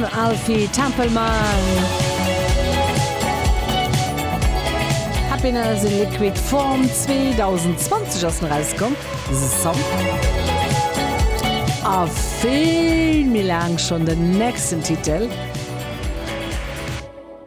Mam Alfie Templeman. Happiness in Liquid Form 2020 ass en erauskomm, dëse Song. A vill méi laang schonn den nächsten Titel.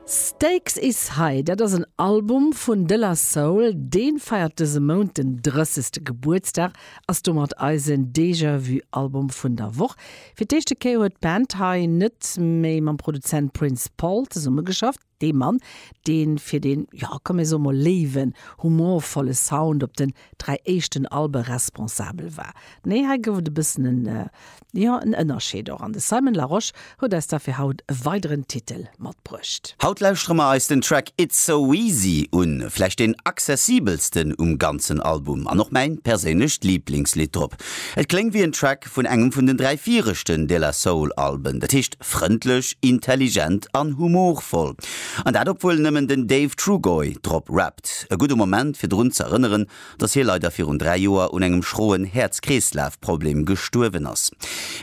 Stakes Is High, dat ass en Album vun De La Soul, dee feiert dëse Mount den 30. Gebuertsdag, ass domat eisen Déjà Vu Album vun der Woch. Fir d'éischte Kéier huet d'Band hei net méi mam Produzent Prince Paul zesummegeschafft, dee Mann, dee fir deen, jo komm mir soe mol léiwen, humorvolle Sound op den 3 éischten Albe responsabel war. Nee, hei gouf et e bëssen en, jo, en Ënnerscheed och. An de Simon Larosche huet eis da fir haut e weideren Titel matbruecht. Haut lauschtere mer eis den Track It's So Easy un, vläicht deen accessibelsten um ganzen Album an och mäin perséinlecht Liiblingslidd drop. Et kléngt wéi en Track vun engem vun den 3 viregten De La Soul Alben, dat heescht frëndlech, intelligent an humorvoll. An dat obwuel nëmmen den Dave Trugoy drop rappt. E gudde Moment fir drun ze erënneren, dass hie leider virun 3 Joer un engem schroen Häerz-Kreeslaf-Problem gestuerwen ass.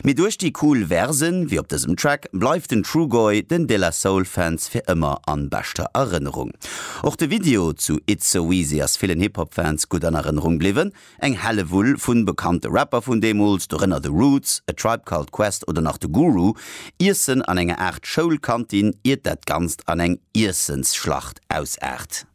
Mee duerch déi cool Versen, wéi op dësem Track, bleift den Trugoy den De La Soul Fans fir ëmmer an beschter Erënnerung. Och de Video zu It's So Easy ass villen Hip-Hop-Fans gutt an Erënnerung bliwwen. Eng Hellewull vun bekannte Rapper vun deemools, dorënner The Roots, A Tribe Called Quest oder nach de Guru, iessen an enger Aart Schoulkantin, iert dat Ganzt an eng Iessensschlacht ausaart.